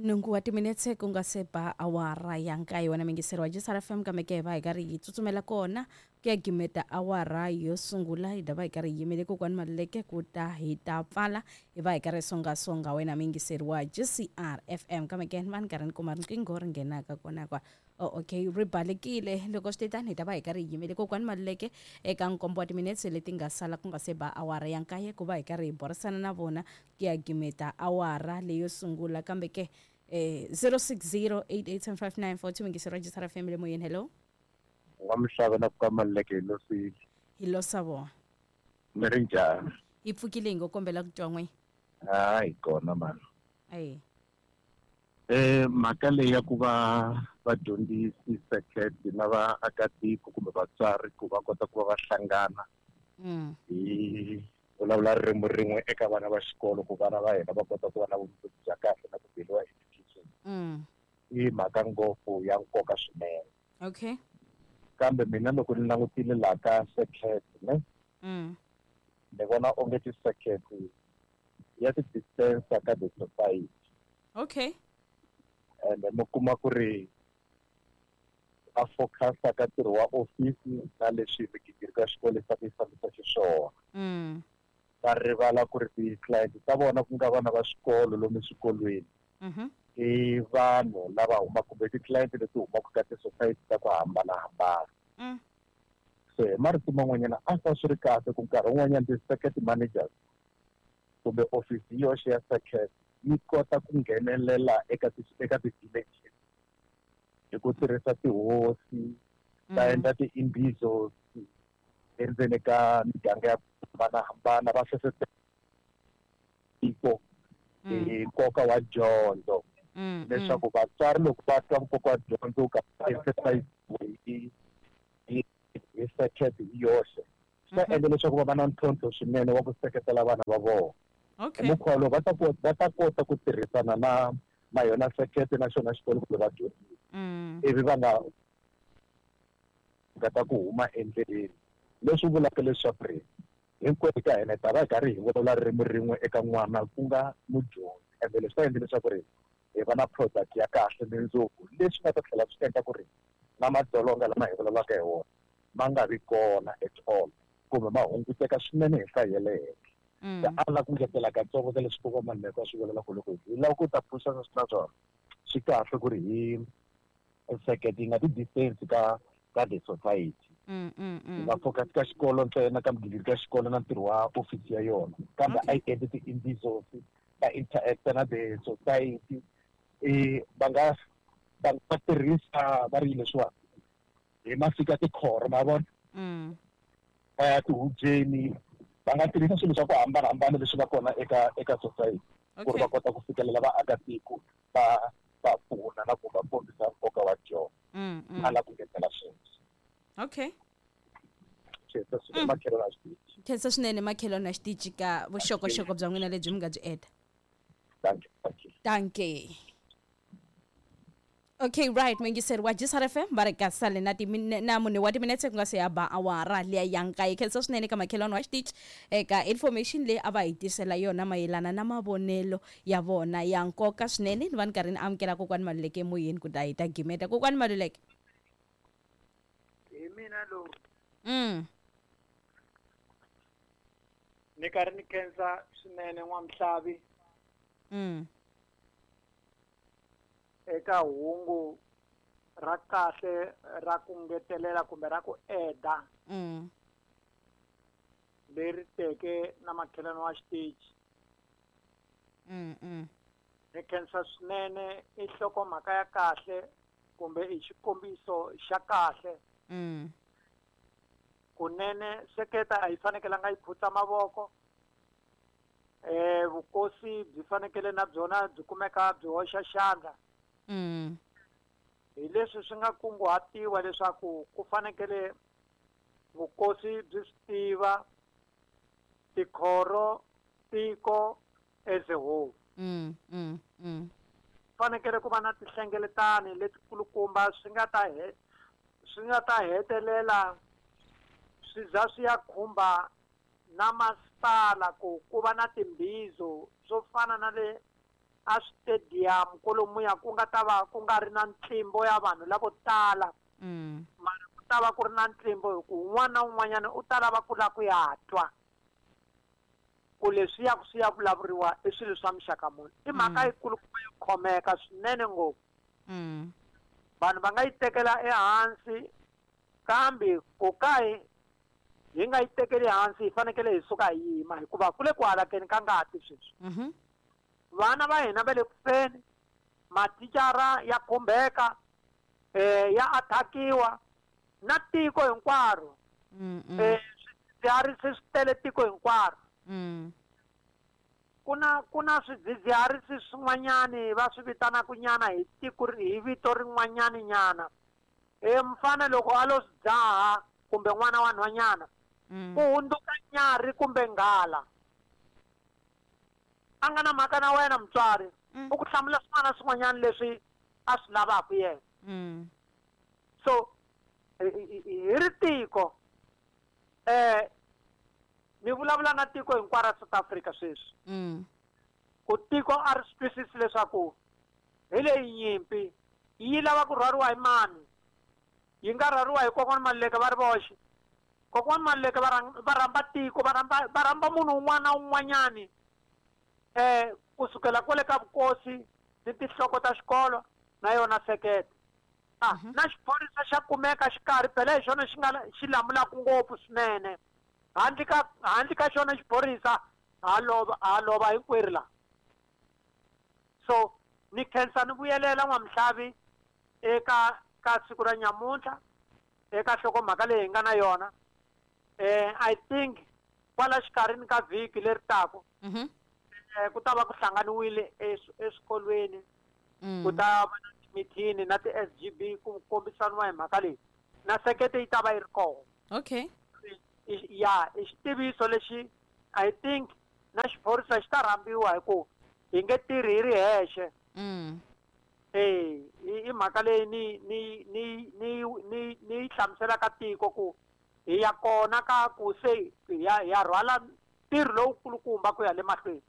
Nhungu wa timinetse ku nga se ba awara ya nkaye, wena mingiseri wa JSR FM, kambe ke hi va hi karhi hi tsutsumela kona ku ya gimeta awara yo sungula. Hi ta va hi karhi hi yimele kokwani Maluleke ku ta hi ta pfala, hi va hi karhi hi songasonga wena mingiseri wa GCR FM. Kambe ke ni va ni karhi ni kuma riqingho ri nghenaka kona kwa. Oh, okay, ri balekile. Loko swi te tani, hi ta va hi karhi hi yimele kokwani Maluleke eka nkombo wa timinetse leti nga sala ku nga se ba awara ya nkaye, ku va hi karhi hi burisana na vona ku ya gimeta awara leyo sungula. Kambe ke 0608875942, mingiseri wa GCR FM le moyeni. Hello. Wa misava na ku ka Maluleke, hi losile. Hi losa vona. Mi ri njhani? Hi pfukile, hi ngo kombela ku twa n'we. Hayi, kona mani. Ayi. Mhaka leyi ya ku va vadyondzisi, circuit na vaakatiko kumbe vatswari ku va kota ku va va hlangana hi vulavula ririmi rin'we eka vana va xikolo, ku vana va hina va kota ku va na vumundzuku bya kahle na ku beliwa education, i mhaka ngopfu ya nkoka swinene. Kambe mina loko ni langutile laha ka circuit ne, ni vona onge ti-circuit ya ti-distance ka the society. Ende mi kuma ku ri va focus-a ka ntirho wa office na leswi migingiriko ya xikolo yi fanele yi fambisa xiswona. Va rivala ku ri ti-client ta vona, ku nga vana va xikolo lomu eswikolweni, i vanhu lava humaka kumbe ti-client leti humaka ka ti-society ta ku hambanahambana. So hi marito man'wanyana, a swi swi ri kahle ku nkarhi wun'wanyana ti-circuit managers kumbe office yoxe ya circuit yi kota ku nghenelela eka ti-villages hi ku tirhisa tihosi, va endla ti-imbizos endzeni ka miganga ya ku hambanahambana, va hlohletela tiko hi nkoka wa dyondzo, leswaku vatswari loko va twa nkoka wa dyondzo ka emphasize hi circuit hi yoxe, swi ta endla leswaku va va na ntlhontlho swinene wa ku seketela vana va vona. Hi mukhuva lowu va ta kota ku tirhisana na yona circuit na xona xikolo kumbe vadyondzisi, ivi va nga ta ku huma endleleni, leswi vulaka leswaku ri hinkwenu ka hina hi ta va hi karhi hi vulavula ririmi rin'we eka n'wana, ku nga mudyondzi. Ende leswi ta endla leswaku ri hi va na product ya kahle mundzuku, leswi nga ta tlhela swi endla ku ri na madzolonga lama hi vulavulaka hi wona ma nga vi kona at all kumbe ma hunguteka swinene hi nhlayo ya le henhla. Se a la ku ngetela katsongo ka leswi kokwa Maluleke a swi vulavula, ku loko hi lava ku ta pfuxa na swona swi kahle ku ri hi circuit yi nga ti distance ka the society, yi nga focus ka xikolo ntsena, ka migingiriko ya xikolo na ntirho wa office ya yona, kambe a yi endli ti-imbizos, va interact na the society. Va nga tirhisa, va ri leswiwani, hi masiku ya tikhoro, ma vona, va ya tihubyeni, va nga tirhisa swilo swa ku hambanahambana leswi nga kona eka society ku ri va kota ku fikelela vaakatiko, va va pfuna na ku va kombisa nkoka wa dyondzo. A la ku ngetela sweswo. Khensa swinene, makhelwani a xitichi. Khensa swinene, makhelwani na xitichi, ka vuxokoxoko bya n'wina lebyi mi nga byi eda. Thank you, thank you. Dankie. Okay, right, mingiseri wa GCR FM, va ri ka sale na na mune wa timinetse ku nga se ya ba awara liya ya nkaye. Khensa swinene ka makhelwani wa xitichi eka information leyi a va hi tisela yona mayelana na mavonelo ya vona ya nkoka swinene. Ni va ni karhi ni amukela kokwani Maluleke emoyeni ku ta hi ta gimeta. Kokwani Maluleke. Hi mina lowu. Ni karhi ni khensa swinene n'wamhlavi eka hungu ra kahle ra ku ngetelela kumbe ra ku eda leri teke na makhelwani wa xitichi. Ni khensa swinene, i nhlokomhaka ya kahle kumbe i xikombiso xa kahle. Kunene seketa a yi fanekelanga yi phutsa mavoko. Vukosi byi fanekele na byona byi kumeka byi hoxa xandla. Hi leswi swi nga kunguhatiwa leswaku ku fanekele vukosi byi swi tiva, tikhoro, tiko as a whole. Fanekele ku va na tihlengeletano letikulukumba swi nga ta hetelela swi za swi ya khumba na masipala, ku va na timbizo swo fana na le. a switediyamu kolomuya ku nga ta va ku nga ri na ntlimbo ya vanhu lavo tala. Mara ku ta va ku ri na ntlimbo hi ku un'wana na un'wanyana u ta lava ku la ku ya twa ku leswi ya ku swi ya vulavuriwa i swilo swa muxaka muni. I mhaka yikulukumba yo khomeka swinene ngopfu. Vanhu va nga yi tekela ehansi, kambe ku ka hi nga yi tekeli hansi hi fanekele hi suka hi yima, hikuva ku le ku halakeni ka ngati sweswi. Vana va hina va le ku feni, mathicara ya khumbeka, ya attackiwa na tiko hinkwaro. Swidzidziharisi swi tele tiko hinkwaro. Ku na swidzidziharisi swin'wanyani va swi vitanaka nyana hi tiko hi vito rin'wanyani nyana. Mfana loko a lo swi dzaha kumbe n'wana wa nhwanyana, ku hundzuka nyarhi kumbe nghala. A nga na mhaka na wena mutswari, u ku hlamula swin'wana na swin'wanyana leswi a swi lavaka yena. So hi ri tiko, ni vulavula na tiko hinkwaro ra South Africa sweswi. Ku tiko a ri swi twisisi leswaku hi leyi nyimpi yi lava ku rhwariwa hi mani, yi nga rhwariwa hi Kokwani Maluleke va ri voxe. Kokwani Maluleke va rhamba tiko, va rhamba munhu un'wana na un'wanyani, kusukela kwale ka vukosi ni tinhloko ta xikolo na yona sekete. Na xiphorisa xa kumeka xikarhi, phela hi xona xi nga xi lamulaka ngopfu swinene. Handle ka xona xiphorisa ha lova hinkwerhu la. So ni khensa ni vuyelela N'wamuhlavi eka ka siku ra nyamuntlha eka nhlokomhaka leyi hi nga na yona. I think kwala xikarhini ka vhiki leri taka ku ta va ku hlanganiwile eswikolweni, ku ta va na timithini na ti-SGB ku kombisaniwa hi mhaka leyi, na sekete yi ta va yi ri kona. Okay. Ya, i xitiviso lexi I think na xiphorisa xi ta rhambiwa hi ku hi nge tirhi hi ri hexe. I mhaka leyi ni yi hlamuselaka tiko ku hi ya kona ka ku se hi ya rhwala ntirho lowukulukumba ku ya le mahlweni.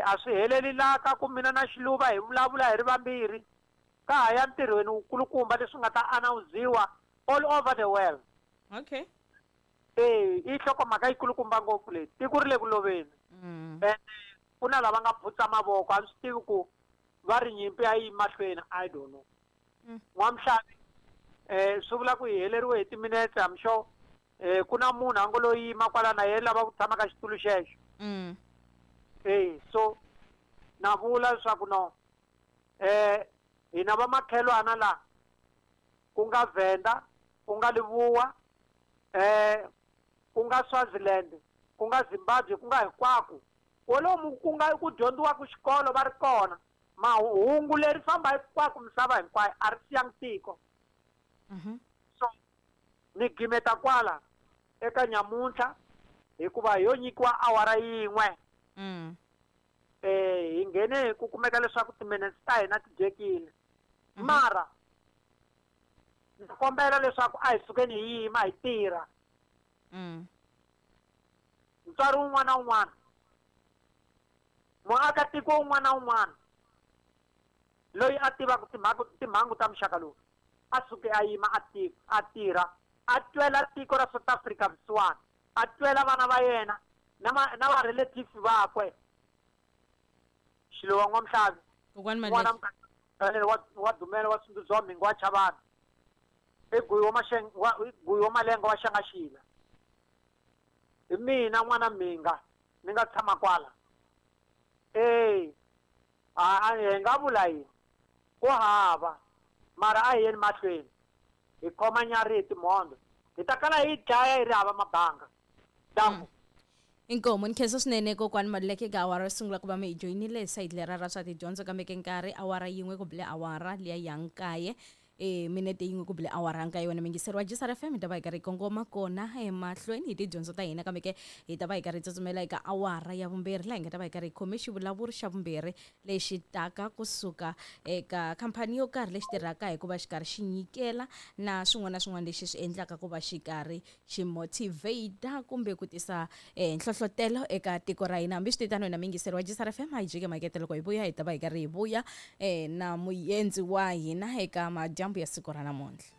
A swi heleli la ka ku mina na Xiluva hi vulavula hi ri vambirhi, ka ha ya ntirhweni wukulukumba leswi nga ta anawuziwa all over the world. Okay. I nhlokomhaka yikulukumba ngopfu leyi, tiko ri le ku loveni. And ku na lava nga phutsa mavoko, a swi tivi ku va ri nyimpi a yi mahlweni, I don't know. N'wamuhlavi, swi vula ku hi heleriwe hi timinetse, I'm sure. Ku na munhu a ngo lo yima kwala na yena lava ku tshama ka xitulu xexo. So na vula leswaku no, hina vamakhelwana la ku nga Venda, ku nga Leboa, ku nga Swaziland, ku nga Zimbabwe, ku nga hinkwako kwalomu ku nga ku dyondziwaka xikolo va ri kona. Mahungu leri famba hinkwako misava hinkwayo, a ri siyangi tiko. So ni gimeta kwala eka nyamuntlha hikuva yo nyikiwa awara yin'we. Hi nghene ku kumeka leswaku timinetse ta hina ti dyekile. Mara ni kombela leswaku a hi sukeni hi yima hi tirha. Mutswari wun'wana na wun'wana, muakatiko wun'wana na wun'wana loyi a tivaka timhangu ta muxaka lowu, a suke a yima a tirha, a twela tiko ra South Africa vusiwana, a twela vana va yena na va relatives vakwe. Xiluva N'wamuhlavi, n'wana wa Dumela wa Sunduza Mhinga wa Chavani, i Guyi wa Malenga wa Xangaxila. Hi mina n'wana Mhinga ni nga tshama kwala. Hi nga vula yini? Ku hava, mara a hi yeni mahlweni hi khoma nyarhi hi timhondzo, hi ta kala hi dlaya hi ri hava mabanga. Danko. Inkomo ni khensa swinene Kokwani Maluleke ka awara yo sungula ku va mi hi joyinile sayiti lera ra swa tidyondzo, kambe ke nkarhi awara yin'we ku bile awara liya ya nkaye. Minete yin'we ku bile awara nka yona mingiseri wa JSR FM, hi ta va hi karhi hi kongoma kona emahlweni hi tidyondzo ta hina, kambe ke hi ta va hi karhi hi tsutsumela eka awara ya vumbirhi, laha hi nga ta va hi karhi hi khome xivulavuri xa vumbirhi lexi taka kusuka eka khampani yo karhi lexi tirhaka hi ku va xi karhi xi nyikela na swin'wana na swin'wana lexi swi endlaka ku va xi karhi xi motivate kumbe ku tisa nhlohlotelo eka tiko ra hina. Hambi swi titano, hina mingiseri wa JSR FM, a hi jike makete. Loko hi vuya, hi ta va hi karhi hi vuya na muendzi wa hina eka madyambu ya siku ra namuntlha.